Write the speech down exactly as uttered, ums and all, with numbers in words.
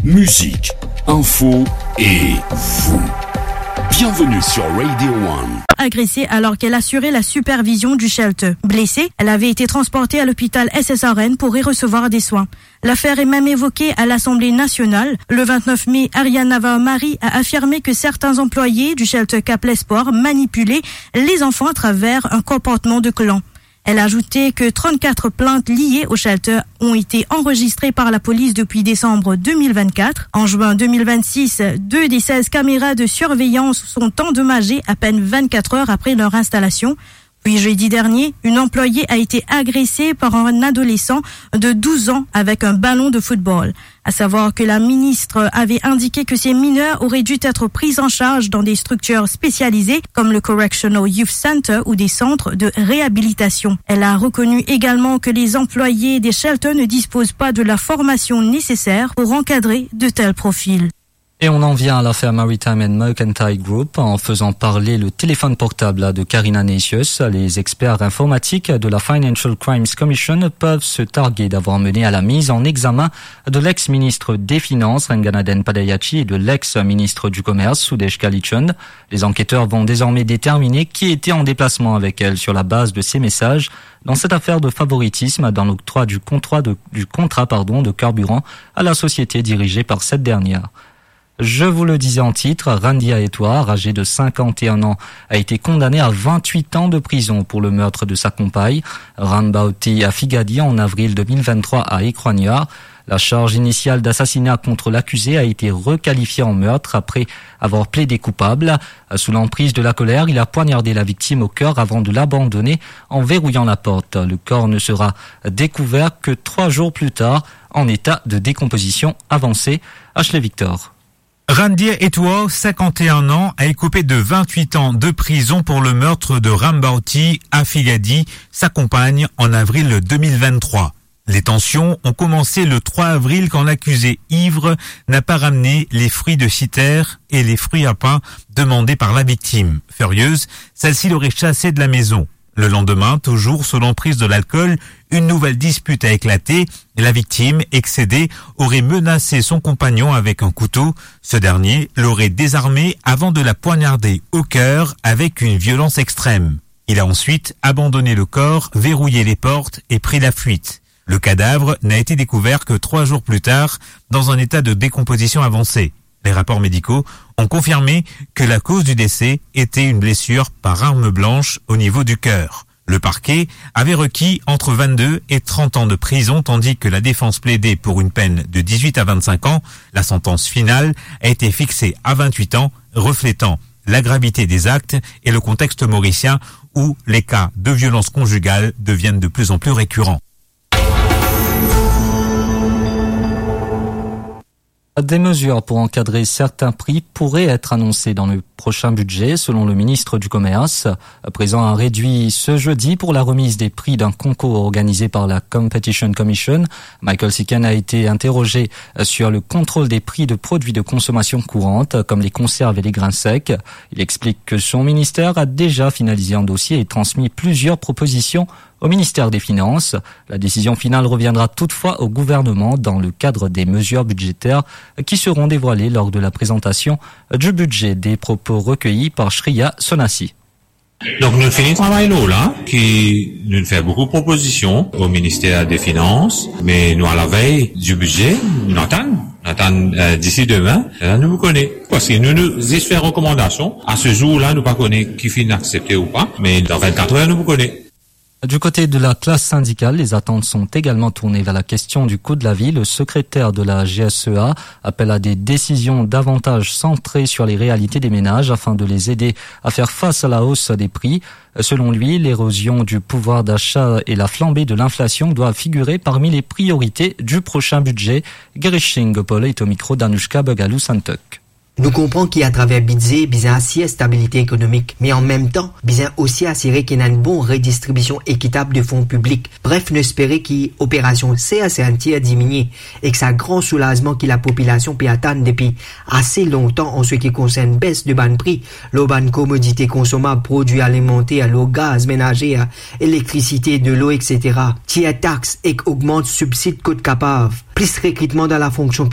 Musique, info et vous. Bienvenue sur Radio One. Agressée alors qu'elle assurait la supervision du shelter. Blessée, elle avait été transportée à l'hôpital S S R N pour y recevoir des soins. L'affaire est même évoquée à l'Assemblée nationale. Le vingt-neuf mai, Ariane Navarro-Marie a affirmé que certains employés du shelter Cap Espoir manipulaient les enfants à travers un comportement de clan. Elle a ajouté que trente-quatre plaintes liées au shelter ont été enregistrées par la police depuis décembre deux mille vingt-quatre. En juin deux mille vingt-six, deux des seize caméras de surveillance sont endommagées à peine vingt-quatre heures après leur installation. Puis jeudi dernier, une employée a été agressée par un adolescent de douze ans avec un ballon de football. À savoir que la ministre avait indiqué que ces mineurs auraient dû être pris en charge dans des structures spécialisées comme le Correctional Youth Center ou des centres de réhabilitation. Elle a reconnu également que les employés des shelters ne disposent pas de la formation nécessaire pour encadrer de tels profils. Et on en vient à l'affaire Maritime and Mercantile Group en faisant parler le téléphone portable de Karina Necius. Les experts informatiques de la Financial Crimes Commission peuvent se targuer d'avoir mené à la mise en examen de l'ex-ministre des Finances, Ranganathan Padayachee, et de l'ex-ministre du Commerce, Sudesh Kalichand. Les enquêteurs vont désormais déterminer qui était en déplacement avec elle sur la base de ces messages dans cette affaire de favoritisme dans l'octroi du contrat de, du contrat, pardon, de carburant à la société dirigée par cette dernière. Je vous le disais en titre, Randia Etwar, âgé de cinquante et un ans, a été condamné à vingt-huit ans de prison pour le meurtre de sa compagne, Ranbawti Afigadi, en avril deux mille vingt-trois à Ekrwania. La charge initiale d'assassinat contre l'accusé a été requalifiée en meurtre après avoir plaidé coupable. Sous l'emprise de la colère, il a poignardé la victime au cœur avant de l'abandonner en verrouillant la porte. Le corps ne sera découvert que trois jours plus tard, en état de décomposition avancée. Ashley Victor. Randia Etwar, cinquante et un ans, a été coupé de vingt-huit ans de prison pour le meurtre de Ranbawti Afigadi, sa compagne, en avril deux mille vingt-trois. Les tensions ont commencé le trois avril quand l'accusée ivre n'a pas ramené les fruits de citer et les fruits à pain demandés par la victime. Furieuse, celle-ci l'aurait chassée de la maison. Le lendemain, toujours sous l'emprise de l'alcool, une nouvelle dispute a éclaté. La victime, excédée, aurait menacé son compagnon avec un couteau. Ce dernier l'aurait désarmée avant de la poignarder au cœur avec une violence extrême. Il a ensuite abandonné le corps, verrouillé les portes et pris la fuite. Le cadavre n'a été découvert que trois jours plus tard, dans un état de décomposition avancée. Les rapports médicaux ont confirmé que la cause du décès était une blessure par arme blanche au niveau du cœur. Le parquet avait requis entre vingt-deux et trente ans de prison, tandis que la défense plaidait pour une peine de dix-huit à vingt-cinq ans. La sentence finale a été fixée à vingt-huit ans, reflétant la gravité des actes et le contexte mauricien où les cas de violence conjugale deviennent de plus en plus récurrents. Des mesures pour encadrer certains prix pourraient être annoncées dans le prochain budget, selon le ministre du Commerce. Présent à Réduit ce jeudi pour la remise des prix d'un concours organisé par la Competition Commission, Michael Sicken a été interrogé sur le contrôle des prix de produits de consommation courante, comme les conserves et les grains secs. Il explique que son ministère a déjà finalisé un dossier et transmis plusieurs propositions au ministère des Finances. La décision finale reviendra toutefois au gouvernement dans le cadre des mesures budgétaires qui seront dévoilées lors de la présentation du budget. Des propos recueillis par Shreya Sonasi. Donk nou fini travay lor la, ki nou fer boukou propozision o Minister de Finans, me nou a lavey di bize, nou atann, nou atann, euh, disi demin, la nou pou kone. Parski nou, nou zis fer rekomandasion, a se zour la nou pa kone ki finn aksepte ou pa, me dan vennkat er nou pou kone. Du côté de la classe syndicale, les attentes sont également tournées vers la question du coût de la vie. Le secrétaire de la G S E A appelle à des décisions davantage centrées sur les réalités des ménages afin de les aider à faire face à la hausse des prix. Selon lui, l'érosion du pouvoir d'achat et la flambée de l'inflation doivent figurer parmi les priorités du prochain budget. Girish Singh Gopal est au micro d'Anushka Bagaloo Santok. Nou konpran ki atraver bidze bizin asir stabilite ekonomik, me an mem tan, bizin osi asire ki ena enn bon redistribision ekitab de fon piblik. Bref, nou espere ki operasion Serre Ceinture diminie, ek sa gran soulazman ki lapopilasion pe atann depi ase lontan an seki konsern bes de bann pri lor bann komodite konsomab, prodwi alimanter, lor gaz menazer, elektrisite, delo, et cetera. Tir tax ek ogmant sibsid kot kapav. Plis rekritman dan lafonksion